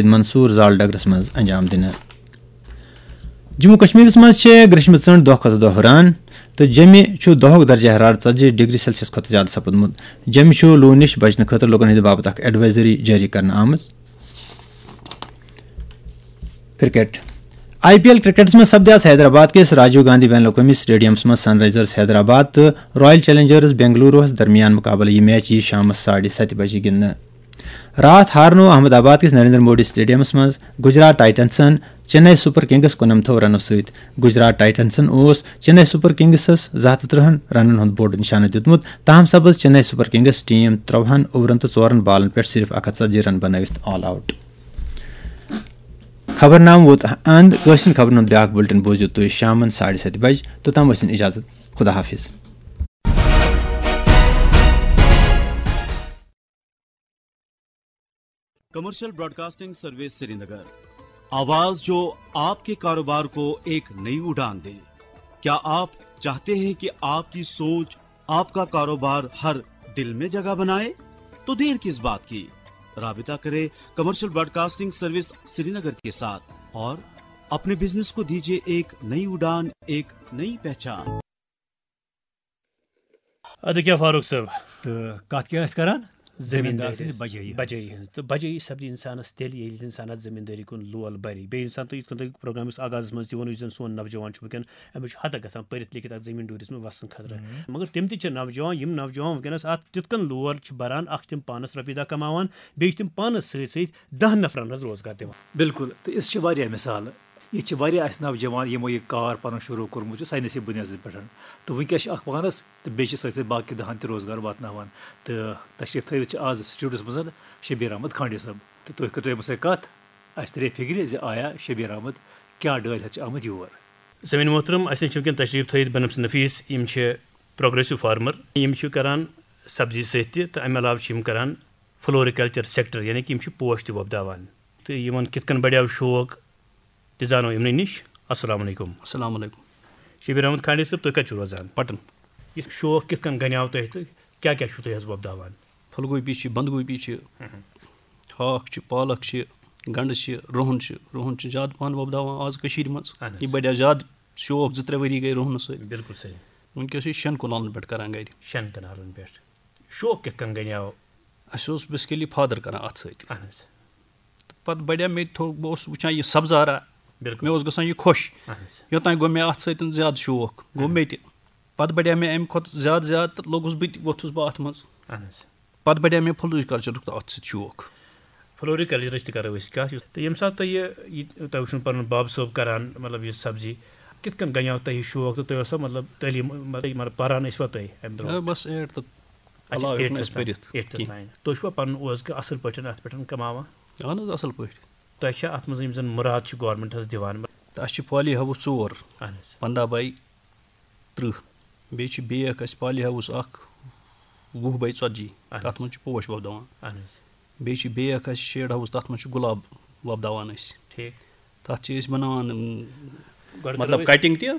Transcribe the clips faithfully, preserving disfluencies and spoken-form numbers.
منصور زال ڈگرس منٛز انجام دِنہٕ۔ جموں کشمیرس منٛز چھِ گریشمہٕ ژٔنٛڈ دۄہ کھۄتہٕ دۄہ ہُران تہٕ جیٚمہِ چھُ دۄہُک درجہ حرارت ژتجی ڈگری سیلسیس کھۄتہٕ زیادٕ سپُدمُت۔ جیٚمہِ چھُ لوٗ نِش بچنہٕ خٲطرٕ لوٗکن ہٕنٛدِ باپتھ اکھ advisory جٲری کرنہٕ آمٕژ۔ کرکٹ۔ آئی پی ایل کرکٹس منٛز سپدِ آز حیدرآباد کِس راجیو گاندھی بین الاقوٲمی سٹیڈیمس منٛز سن رائزرز حیدرآباد تہٕ رائل چیلنجرز بنگلوروہس درمیان مقابلہٕ۔ یہِ میچ یِیہِ شامس ساڑِ ستہِ بجہِ گِنٛدنہٕ۔ راتھ ہارنوو احمد آباد کِس نریندر مودی سٹیڈیمس منٛز گجرات ٹائٹنسن چنئی سپر کنگس کُننمتھو رنو سۭتۍ۔ گجرات ٹائٹنسن اوس چنئی سپر کنگسس زٕ ہتھ تہٕ ترٕہن رنن ہُنٛد بوٚڑ نشانہٕ دیُتمُت۔ تاہم سپٕز چنئی سپر کنگس ٹیم ترٛوہن اوورن تہٕ ژورن بالن پٮ۪ٹھ صرف اکھ ہتھ ژتجی رن بنٲوِتھ آل آوٹ۔ خبرنامہٕ ووت اند۔ کٲشرٮ۪ن خبرن ہُنٛد بیٛاکھ بُلٹن بوٗزِو تُہۍ شامن ساڑِ ستہِ بجہِ۔ توٚتام ٲسِن اجازت۔ خدا حافظ۔ کمرشل براڈکاسٹنگ سروس سرینگر، آواز جو آپ کے کاروبار کو ایک نئی اڑان دے۔ کیا آپ چاہتے ہیں کہ آپ کی سوچ، آپ کا کاروبار ہر دل میں جگہ بنائے؟ تو دیر کس بات کی؟ رابطہ کریں کمرشل براڈکاسٹنگ سروس سرینگر کے ساتھ اور اپنے بزنس کو دیجیے ایک نئی اڑان، ایک نئی پہچان۔ ادٕ کیٛاہ فاروق صٲب؟ تہٕ کتھ کیٛاہ ٲسۍ کران؟ زٔمیٖندار سٕنٛزِ ٲسۍ بجٲیی ہٕنٛز۔ بجٲیی ہٕنٛز۔ تہٕ بجٲیی سپدِ انسانس تیٚلہِ، ییٚلہِ انسان اتھ زٔمیٖندٲری کُن لول برِ۔ بیٚیہِ انسان تُہۍ یِتھ کٔنۍ تُہۍ پروگرامس آغازس منٛز تہِ ووٚن، یُس زن سون نوجوان چھُ وٕنکیٚن، أمِس چھُ حدٕ گژھان پٔرِتھ لیکھِتھ اتھ زٔمیٖن ڈوٗرِس منٛز وسنہٕ خٲطرٕ۔ مگر تِم تہِ چھِ نوجوان، یِم نوجوان وٕنکیٚنس اتھ تیُتھ کٔنۍ لول چھِ بران، اکھ چھِ تِم پانس رۄپیہِ دہ کماوان، بیٚیہِ چھِ تِم پانس سۭتۍ سۭتۍ دہ نفرن ہٕنٛز روزگار دِوان۔ بِلکُل، تہٕ یِژھ چھِ واریاہ مثالہٕ۔ ییٚتہِ چھِ واریاہ اَسہِ نوجوان یِمو یہِ کار پَنُن شروٗع کوٚرمُت چھُ ساینسی بُنیادَس پٮ۪ٹھ، تہٕ وٕنکیٚس چھِ اَکھ پانَس تہٕ بیٚیہِ چھِ سۭتۍ سۭتۍ باقٕے دَہَن تہِ روزگار واتناوان۔ تہٕ تشریٖف تھٲوِتھ چھِ آز سٹوڈیوَس منٛز شبیر احمد کھانڈے صٲب، تہٕ تُہۍ کٔرِو أمِس سۭتۍ کَتھ، اَسہِ تَرِ فِکرِ زِ آیا شبیر احمد کیٛاہ ڈٲلۍ ہٮ۪تھ چھِ آمُت یور۔ زٔمیٖن محترم، اَسہِ نِش چھِ وٕنکیٚن تشریٖف تھٲیِتھ بنفس نفیٖس، یِم چھِ پروگریسو فارمر، یِم چھِ کران سبزی سۭتۍ تہِ، تہٕ اَمہِ علاوٕ چھِ یِم کران فلوریکلچر سیکٹر، یعنی کہِ یِم چھِ پوش تہِ وۄپداوان۔ تہٕ یِمن کِتھ کٔنۍ بڑیو شوق، تہِ زانو یِمنٕے نِش۔ السلام علیکم۔ السلام علیکم۔ شبیر احمد کھانڈے صٲب، تُہۍ کَتہِ چھِو روزان؟ پٹن۔ یہِ شوق کِتھ کٔنۍ گنیو تۄہہِ تہٕ کیٛاہ کیٛاہ چھِو تُہۍ حظ وۄپداوان؟ پھُلگوٗپی چھِ، بنٛدگوٗپی چھِ، ہاکھ چھِ، پالک چھِ، گنٛڈٕ چھِ، رُہُن چھِ۔ رُہُن چھِ زیادٕ پَہَن وۄپداوان آز کٔشیٖرِ منٛز۔ اہن حظ۔ یہِ بڑیو زیادٕ شوق، زٕ ترٛےٚ ؤری گٔے رُہنَس سۭتۍ۔ بِلکُل صحیح۔ وٕنکیٚس چھِ شٮ۪ن کنالَن پٮ۪ٹھ کران گرِ۔ شٮ۪ن کنالن پٮ۪ٹھ۔ شوق کِتھ کٔنۍ گنیو؟ اَسہِ اوس بیسکلی فادر کران اَتھ سۭتۍ۔ اہن حظ۔ تہٕ پَتہٕ بڑیو مےٚ تہِ تھوٚو، بہٕ اوسُس وٕچھان یہِ سبزارا، بِلکُل۔ مےٚ اوس گژھان یہِ خۄش۔ اہن حظ۔ یوٚتام گوٚو مےٚ اَتھ سۭتۍ زیادٕ شوق، گوٚو مےٚ تہِ۔ پَتہٕ بڑیو مےٚ اَمہِ کھۄتہٕ زیادٕ زیادٕ تہٕ لوٚگُس بہٕ تہِ، ووٚتھُس بہٕ اَتھ منٛز۔ اہن حظ۔ پَتہٕ بڑیو مےٚ فلوریکلچرُک تہٕ اَتھ سۭتۍ شوق۔ فلوریکلچرٕچ تہِ کرو أسۍ کتھ، یُس تہٕ ییٚمہِ ساتہٕ تۄہہِ یہِ، یہِ تۄہہِ وٕچھُن پنُن باب صٲب کران، مطلب، یہِ سبزی، کِتھ کٔنۍ گنیو تۄہہِ یہِ شوق تہٕ تۄہہِ اوسا، مطلب، تعلیٖم، مطلب، مطلب، پران ٲسوا تُہۍ امہِ آ، برونٛہہ؟ بس ایٹ تہٕ اچھا، علاوٕ ہیوٚک نہٕ eighth اَسہِ پٔرِتھ تام، eighth کینٛہہ۔ تام۔ تُہۍ چھُوا پنُن اوس کہِ اصل پٲٹھۍ اتھ پٮ۪ٹھ کماوان؟ اہن حظ، اصل پٲٹھۍ۔ تۄہہِ چھا اتھ منٛز یِم زن مُراد چھِ government حظ دِوان؟ تہٕ اَسہِ چھِ پالی ہاوُس ژور، اہن حظ۔ پنٛداہ باے تٕرٛہ۔ بیٚیہِ چھِ بیٚیہِ اکھ اَسہِ پالی ہاوُس اکھ، وُہ باے ژتجی۔ اہن حظ۔ تَتھ منٛز چھِ پوش وۄپداوان۔ اہن حظ۔ بیٚیہِ چھِ بیٚیہِ اکھ اَسہِ شیڈ ہاوُس، تَتھ منٛز چھِ گۄلاب وۄپداوان أسۍ۔ ٹھیٖک۔ تَتھ چھِ أسۍ بَناوان، اۭں، گۄڈٕ مطلب کَرو أسۍ کَٹِنٛگ تہِ۔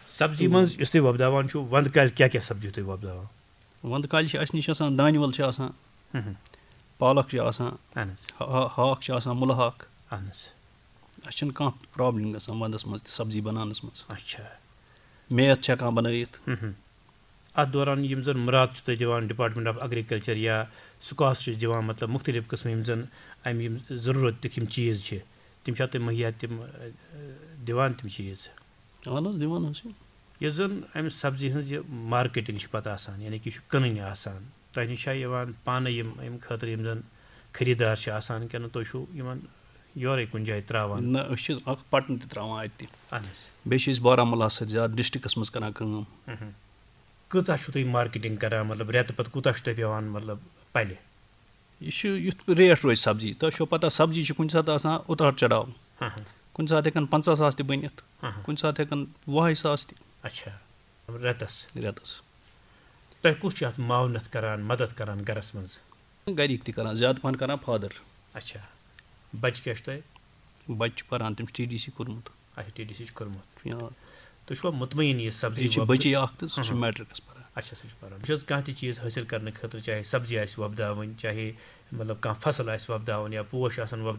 سبزی منٛز یُس تُہۍ وۄپداوان چھِو، وندٕ کالہِ کیٛاہ کیٛاہ سبزی تُہۍ وۄپداوان؟ وَندٕ کالہِ چھِ اَسہِ نِش آسان، دانہِ وَل چھِ آسان، پالک چھِ آسان، اہن حظ۔ ہا-، ہاکھ چھِ آسان، مُلہٕ ہاکھ۔ اہن حظ۔ اَسہِ چھِنہٕ کانٛہہ پرابلم گژھان وَندَس منٛز تہِ سبزی بَناونَس منٛز۔ اچھا۔ میتھ چھِ ہٮ۪کان بَنٲیِتھ۔ اتھ دوران یِم زن مُراد چھِ تُہۍ دِوان Department of Agriculture یا سکاس چھِ دِوان، مطلب، مُختٔلِف قٕسمٕکۍ یِم زن امہِ یِم ضروٗرتٕکۍ یِم چیٖز چھِ، تِم چھا تُہۍ مُہیا تِم، ٲ، دِوان تِم چیٖز؟ اہن حظ، دِوان حظ چھِ۔ یۄس زن امہِ سبزی ہٕنٛز یہِ marketing چھِ پتہٕ آسان، یعنی کہِ یہِ چھُ کٕنٕنۍ آسان، تۄہہِ نِش چھا یِوان پانہٕ یِم امہِ خٲطرٕ یِم زن خریٖدار چھِ آسان، کِنہٕ تُہۍ چھِو یِمن یورے کُنہِ جایہِ ترٛاوان؟ نہ، أسۍ چھِ اکھ پٹن تہِ ترٛاوان اَتہِ تہِ۔ اہن حظ۔ بیٚیہِ چھِ أسۍ بارہمولہ سۭتۍ زیادٕ ڈسٹرکٹس منٛز کران کٲم۔ کۭژاہ چھِو تُہۍ marketing کران، مطلب، رٮ۪تہٕ پتہٕ کوٗتاہ چھُ تۄہہِ پٮ۪وان، مطلب، پلہِ؟ یہِ چھُ یُتھ ریٹ روزِ سبزی، تۄہہِ چھو پتہ سبزی چھِ کُنہِ ساتہٕ آسان اُتار چڑاو۔ کُنہِ ساتہٕ ہٮ۪کن پنٛژاہ ساس تہِ بٔنِتھ، کُنہِ ساتہٕ ہٮ۪کن وُہے ساس تہِ۔ اچھا۔ رٮ۪تس۔ رٮ۪تس۔ تۄہہِ کُس چھُ اتھ معاونت کران، مدد کران گرس منٛز؟ گرِکۍ تہِ کران، زیادٕ پہن کران فادر۔ اچھا۔ بچہِ کیٛاہ چھِ تۄہہِ؟ بچہِ چھِ پران، تٔمۍ چھُ ٹی ڈی سی کوٚرمُت۔ اچھا، ٹی ڈی سی چھُ کوٚرمُت۔ یا۔ تُہۍ چھُوا مطمئن یہِ سبزی یہِ چھِ وۄپدٕ؟ بچی اکھ تہٕ سُہ چھُ میٹرکس پران۔ اچھا، سُہ چھُ پران۔ بہٕ چھُس کانٛہہ تہِ چیٖز حٲصِل کرنہٕ خٲطرٕ، چاہے سبزی آسہِ وۄپداوٕنۍ، چاہے مطلب کانٛہہ فصل آسہِ وۄپداوُن یا پوش آسن وۄپداوٕنۍ،